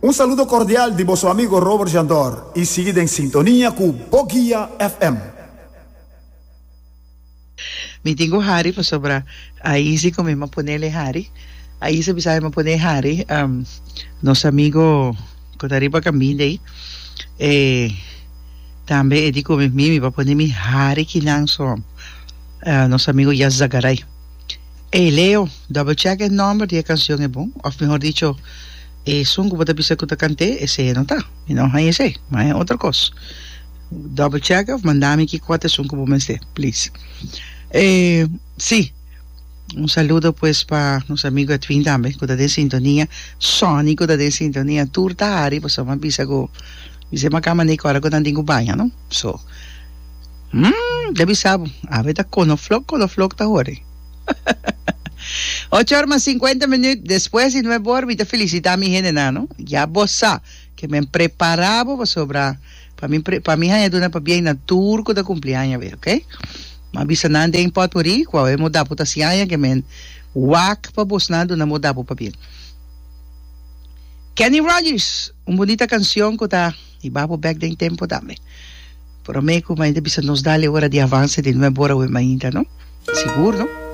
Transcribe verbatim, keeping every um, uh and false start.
Un saludo cordial di boso amigo Robert Jandor y sigui den sintonia cu Boguia F M. Mi tin cu hari pasobra Aisi cu mi a ponele hari. Aisi bisa mi pone hari. Um, nos amigo cu ta riba caminda ey. Eh, tambe e di cu mi mi pa pone mi hari kinan so. Uh, nos amigo Yazagaray. Hey Leo, double check e nomber di e cancion e bon. Of mihor dicho, esun cu bo ta bisa cu ta cant'e, esey no ta. Mi no hay esey, ma e otro cos. Double check of manda mi ki cua ta esun cu bo mester, please. Eh, si. Un saludo pues pa nos amigo Edwin tambe, cu ta den sintonia. Sonny cu ta den sintonia. Tur ta hari, pues mi bisa cu bisa makama ni ora cu nan tin cu baña, no? So, mm, debe sabe. Awe ta konoflok, konoflok ta hori. ocho or mas cincuenta minuut despues di nuebe or, mi ta felicita mi hendenan, no? Ya bo sa cu mi prepara bo sobre pa mi pa mi haya duna pabien na tur cu ta cumpli aña, ok? Ma bisa nan den potpourri, cual e moda puta si aña cu men wak pa bosnan duna moda pa bien. Kenny Rogers, un bunita cancion cu ta hiba bo back den tempo tambe. Prome cu mainta bisa nos dale ora di avance di nuebe or mainta, no? Sigur, no?